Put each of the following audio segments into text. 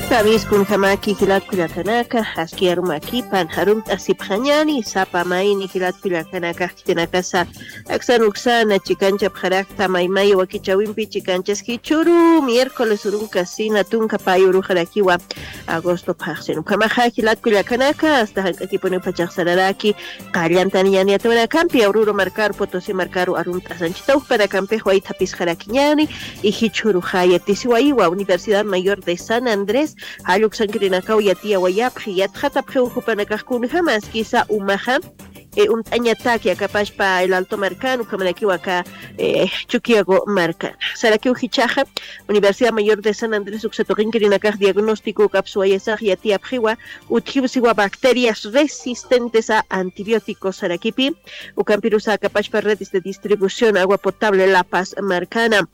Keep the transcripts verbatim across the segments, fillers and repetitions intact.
Kamiskunjamaki jilat kullakanaka, aski arumakipan arumt'asipxañani, sapa mayni jilat kullakanaka, khitinakasa aksan uksana chikanchapxarakta maymay wakichawimpi chikanchas jichhuru miércoles urunka sina tunka pay uruxarakiwa agosto phaxsin. Ukhamaxa jilat kullakanaka, hasta jank'akipuniw phachaxsararaki, qallantani ñani yatiwanakampi, Oruro markaru, Potosí markaru arumt'asanchita, ukpanakampix waythapisxarakiñani, y jichhuruxa yatisiwayiwa Universidad Mayor de San Andrés, jall uksankirinakaw yatiyawayapxi, yatxatapxiw jupanakax kunjama askisa umaxa, eh, uñt'añataki akapashpa El Alto markan, ukhamarakiw aka, eh, Chuquiago markan. Sarakiw jichhaxa, Universidad Mayor de San Andrés uksa tuqinkirinakax diagnóstico ukapsuwayasax yatiyapxiwa, utjiw siwa bacterias resistentes a antibióticos sarakipi, ukampirusa akapashpa redes de distribución agua potable La Paz markana.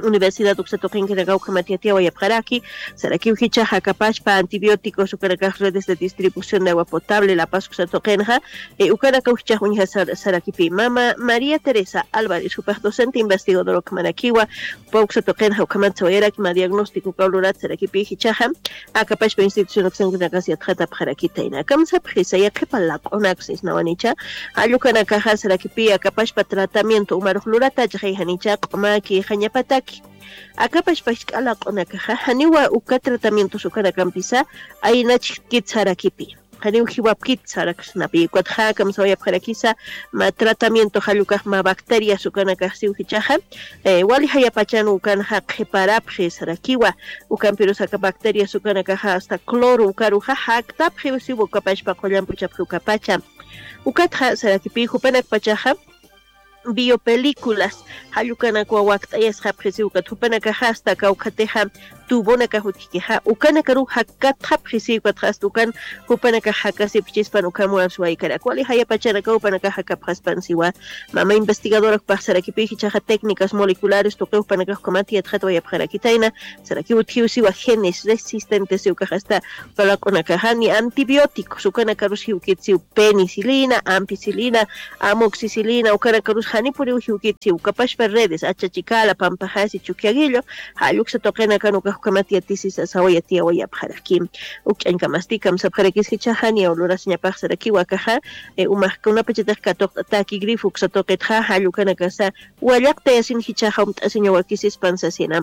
Universidad uksa tuqinkinakaw ukhamat yatiyawayapxaraki, sarakiw jichhaxa akapashpa antibióticos ukanakax redes de distribución de agua potable La Paz uksa tuqinxa, eh, ukanakaw jichhax uñja sar-, sarakipi. Mama María Teresa Álvarez, jupax docente investigador ukhamarakiwa, jupa uksa tuqinxa ukhamat sawayaraki mä diagnóstico ukaw lurat sarakipi jichhaxa, akapashpa institución uksankunakas yatxatapxarakitayna. Kamsapxisa, yaqhipa laq'unaksisnawanicha, jall ukanakaxa sarakipi akapashpa tratamiento umarux luratachixay janicha, q'umaki, jañapataki. Akapashpa jisk'a laq'unakaxa, janiwa uka tratamientos ukanakampisa, aynachkit sarakipi. Janiw jiwapkit saraksnapi. Ukatxa kamsawayapxarakisa, mä tratamiento jall ukax mä bacterias ukanakax siw jichhaxa, eh, wali jayapachan ukanxa qhiparapxi sarakiwa, ukampirus aka bacterias ukanakaxa hasta cloro ukaruxa jaktapxiw siw ukapashpa qullan puchapxi ukapacha. Ukatxa sarakipi jupanakpachaxa biopelículas, jall ukanakwa wakt'ayasxapxi siw ukat jupanakaxa hasta kawkhatixa tubonakax utjkixa, ukanakaruw jakkatxapxi siw ukatxa hasta ukan jupanakax jakasipxchispan ukham warsuwaykarak. Wali jayapachanakaw jupanakax jakapxaspan siwa. Mama investigadora jupax sarakipi jichhaxa técnicas moleculares tuqiw jupanakax ukhamat yatxatawayapxarakitayna, sarakiw utjiw siwa genes resistentes siw ukax hasta uka laq'unakaxa ni antibióticos ukanakarus jiwkit siw penicilina, ampicilina, amoxicilina, ukanakarus janipuniw jiwkit siw ukapashpa redes, Achachikala, Pampaxasi, Chukiaguillo, jall uksa tuqinakan ukax ukhamat yatisisa sawa yatiyawayapxaraki. Uk ch'añkamasti kamsapxarakis jichhaxa, niyaw lurasiñapax sarakiwa akaxa, eh, umax kunapachatix katuqt'ataki grifo uksa tuqitxa, jall ukanakasa wallaqtayasin jichhaxa umt'asiñaw wakisispan sasina.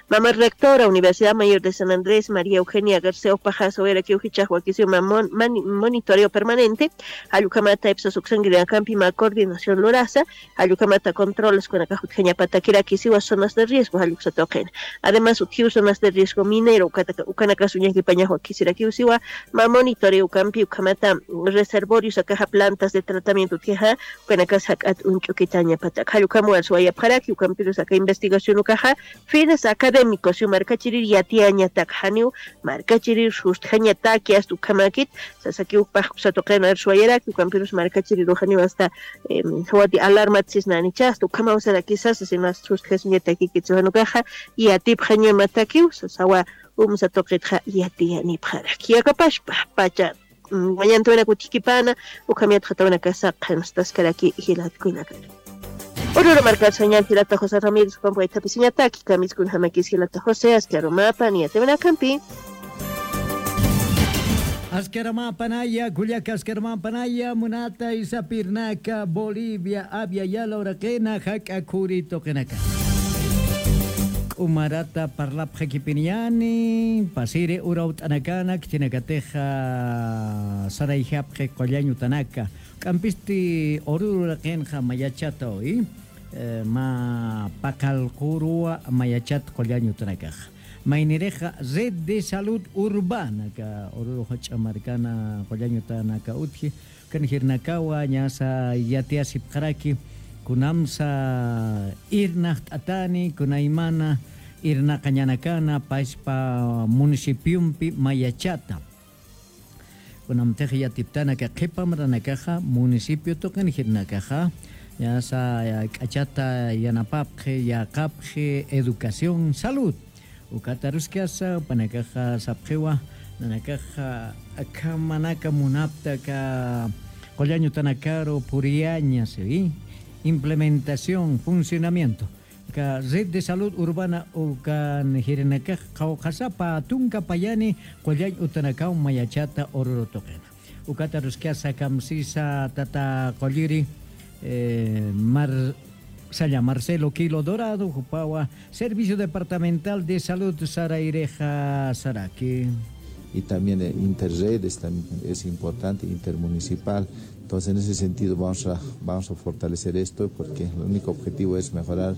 Mama rectora Universidad Mayor de San Andrés, María Eugenia García, jupaxa sawayarakiw jichhax wakisiw mä mon-, mani-, monitoreo permanente, jall ukhamata ipsas uksankirinkampi mä coordinación lurasa, jall ukhamata controles ukanakax utjañapatakiraki siwa zonas de riesgo, jall uksa tuqin. Además, utjiw zonas de riesgo minero, ukataka-, ukanakas uñakipañax wakisirakiw siwa, mä monitoreo ukampi ukhamata reservorios akaxa plantas de tratamiento utjixa, ukanakas jak'at uñch'ukitañapatak. Jall ukham warsuwayapxaraki, ukampirus aka investigación ukaxa, fines académicos, siw markachirir yatiyañatak janiw, markachirir sustjañataki, hasta ukhamakit, sasakiw ukpax uksa tuqin arsuwayaraki, ukampirus markachirir janiw hasta, em, jawati alarmat sisnanicha, hasta ukhamaw sarakisa, sasina sustjasiñatakikit, siw jan ukaxa, yatipxañamatakiw, sasawa umsa tuqitxa yatiyanipxaraki. Akapashpa, pacha, mm, wañantawinak utjkipana, ukham yatxatawinak saqanstaskaraki jilat kullakan. Oruro markat sañan jilata José Ramírez, ukampi waythapisiñataki, kamiskunjamakis jilata José, aski arumapan yatiwinakampi. Aski arumapanaya, kullaka aski arumapanaya, munata isapirnaka, Bolivia, Abya Yala uraqina, jak'a khuri tuqinaka. K'umarata parlapxakipiniñani, pasiri urawt'anakana, khitinakatixa sarayjapxi qullañ utanaka. K'ampisti Oruro uraqinxa mayachata uy, eh, mä paqallquruwa mayachat qullañ utanakax. Maynirixa Red de Salud Urbana, aka Oruro jach'a markana qullañ utanaka utji, ukan jirnakawa ñasa yatiyasipxaraki, kunamsa irnaqt'atani, kunaymana irnaqañanakana, paspa municipiompi mayachata. Kunamtix yatiptanaka qhipa maranakaxa, municipio tuqin jirnakaxa, ñasa k'achata yanapapxi, yäqapxi, educación, salud. Ukat aruskasa, jupanakaxa sapxiwa, nanakaxa akhamanaka munapta aka qullañ utanakaru puriyaña, ¿sí? Implementación, funcionamiento. Ka red de salud urbana ukan jirinakax qhawqhasapa tunka payani qullañ utanakaw mayachata Oruro tuqina. Ukata ruskasa kamsisa tata qulliri, eh, Mar-, saya Marcelo Quilo Dorado, jupawa Servicio Departamental de Salud sarayrixa saraki. Y también, eh, interredes también es importante, intermunicipal. Entonces, en ese sentido, vamos a, vamos a fortalecer esto, porque el único objetivo es mejorar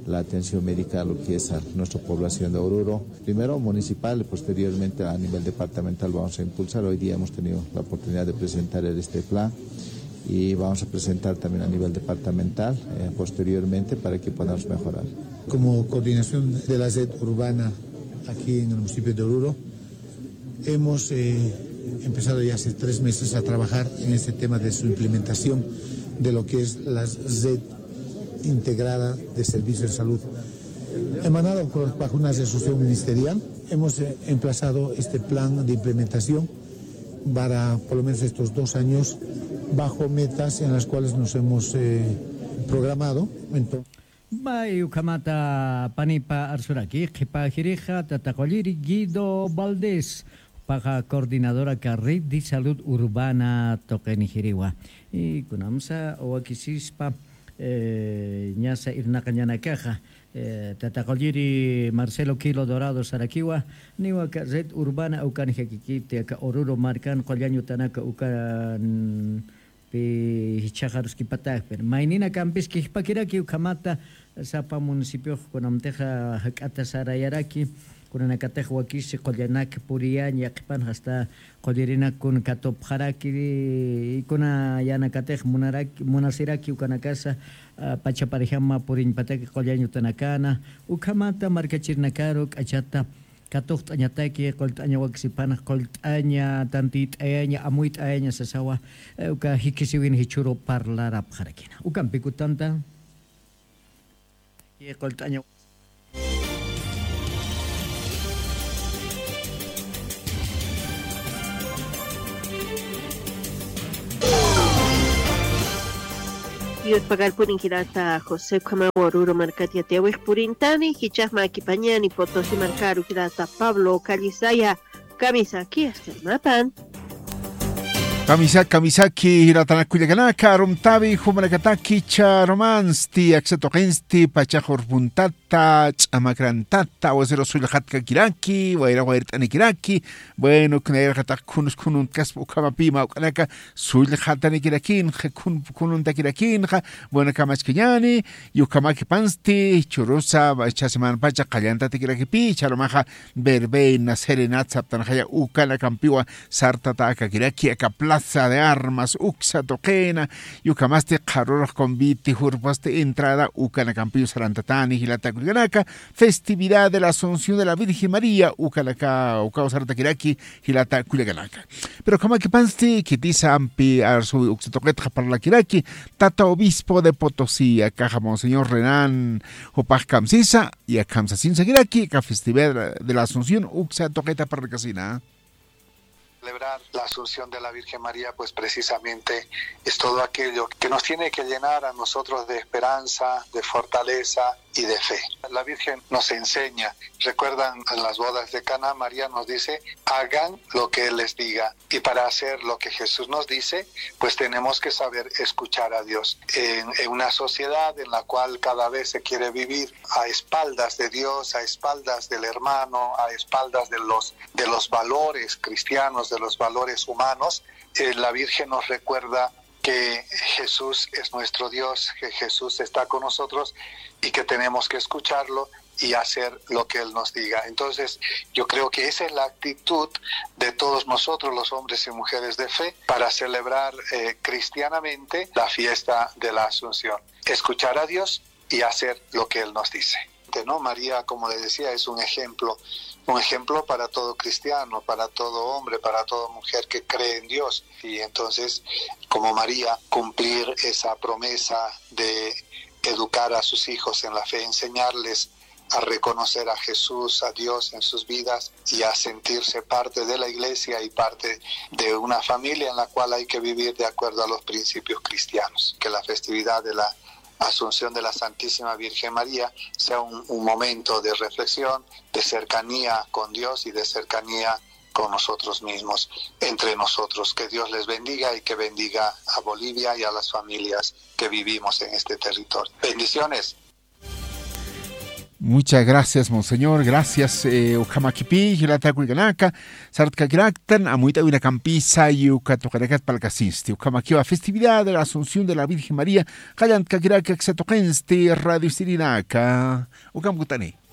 la atención médica a lo que es a nuestra población de Oruro. Primero municipal, posteriormente a nivel departamental vamos a impulsar. Hoy día hemos tenido la oportunidad de presentar este plan y vamos a presentar también a nivel departamental, eh, posteriormente para que podamos mejorar. Como coordinación de la red urbana aquí en el municipio de Oruro, hemos, eh, empezado ya hace tres meses a trabajar en este tema de su implementación de lo que es la red integrada de servicios de salud. Emanado por, bajo una resolución ministerial, hemos, eh, emplazado este plan de implementación para por lo menos estos dos años bajo metas en las cuales nos hemos, eh, programado. Entonces, May ukhamata panipa arsuraki, qhipa jirixa tata qulliri Guido Valdés, paxa coordinadora ka red de salud urbana tuqini jiriwa. Y kunamsa wakisispa, eh, ñasa irnaqañanakaxa, eh, tata qulliri Marcelo Quilo Dorado sarakiwa, niwa ka red urbana ukan jakikiti, aka Oruro markan qullañ utanaka ukan pi jichhaxa aruskipatäkpin. Maynina kampis kijpakiraki ukhamata sapa municipiox kunamtixa jak'ata sarayaraki, kunanakatix wakisi qullanak puriyañ yaqhipanxa hasta qullirinak kun katupxaraki, y kuna yanakatix munaraki, munasiraki ukanakasa, ah, pacha parijama puriñpataki qullañ utanakana, ukhamata markachirinakaru k'achata katuqt'añataki, qullt'aña wakisipanx, qullt'aña, tantiyt'ayaña, amuyt'ayaña sasawa, eh, uka jikisiwin jichhüru parlarapxarakina. Ukampi kutanta, qullt'aña. Yurpagarpuni jirata José Khamawa Oruro markat yatiyawix purintani, jichhax mä akipañani Potosí markaru jirata Pablo Callisaya, kamisaki, hasta mapan. Kamisaki, kamisaki, jiratanak kullakanaka, arumtawi, jumanakataki, charumansti, aksa tuqinsti, pachax urpuntata, ch'amakrantata, aguacero sullxatkakiraki, wayra wayrt'anikiraki, bueno, kunayraxataq khunus khununt'kaspa ukhamapi mä uk'anaka, sullxatanikirakinxa, khun-, khununtakirakinxa, bueno, kamachkañani, y ukhamakipansti, churusa, jichha semanapacha qallantatikirakipï, jichharumaxa verbena, serenata saptanxaya, ukanakampiwa sartatäkakiraki, aka plaza de armas, uksa tuqina, y ukhamasti qharürux convite, jurpasti entrada, ukanakampiw sarantatäni, jilata kullakanaka, festividad de la Asunción de la Virgen María, ukanaka, ukaw sartakiraki, jilata kullakanaka. Pero ukhamakipansti, khitisa ampi arsuwi uksa tuqitxa parlakiraki, tata obispo de Potosí, akaxa Monseñor Renan, jupax kamsisa, y akham sasinsakiraki, aka festividad de la Asunción, uksa tuqita parlkasina. Celebrar la Asunción de la Virgen María, pues precisamente es todo aquello que nos tiene que llenar a nosotros de esperanza, de fortaleza y de fe. La Virgen nos enseña, recuerdan en las bodas de Caná, María nos dice, hagan lo que Él les diga. Y para hacer lo que Jesús nos dice, pues tenemos que saber escuchar a Dios. En, en una sociedad en la cual cada vez se quiere vivir a espaldas de Dios, a espaldas del hermano, a espaldas de los, de los valores cristianos, de los valores humanos, eh, la Virgen nos recuerda que Jesús es nuestro Dios, que Jesús está con nosotros y que tenemos que escucharlo y hacer lo que Él nos diga. Entonces, yo creo que esa es la actitud de todos nosotros, los hombres y mujeres de fe, para celebrar, eh, cristianamente la fiesta de la Asunción. Escuchar a Dios y hacer lo que Él nos dice. ¿No? María, como les decía, es un ejemplo, un ejemplo para todo cristiano, para todo hombre, para toda mujer que cree en Dios. Y entonces, como María, cumplir esa promesa de educar a sus hijos en la fe, enseñarles a reconocer a Jesús, a Dios en sus vidas y a sentirse parte de la iglesia y parte de una familia en la cual hay que vivir de acuerdo a los principios cristianos, que la festividad de la Asunción de la Santísima Virgen María sea un, un momento de reflexión, de cercanía con Dios y de cercanía con nosotros mismos, entre nosotros. Que Dios les bendiga y que bendiga a Bolivia y a las familias que vivimos en este territorio. Bendiciones. Muchas gracias, monseñor. Gracias. Eh, ukhamakipi jilata kuykanaka, sartkakiraktan amuyt'awinakampi sayu katuqanakat palkasinsti ukhamakiwa festividad de la Asunción de la Virgen María. Qallantkakiraka ksatuqinsti radio sirinaka. Ukamkutani.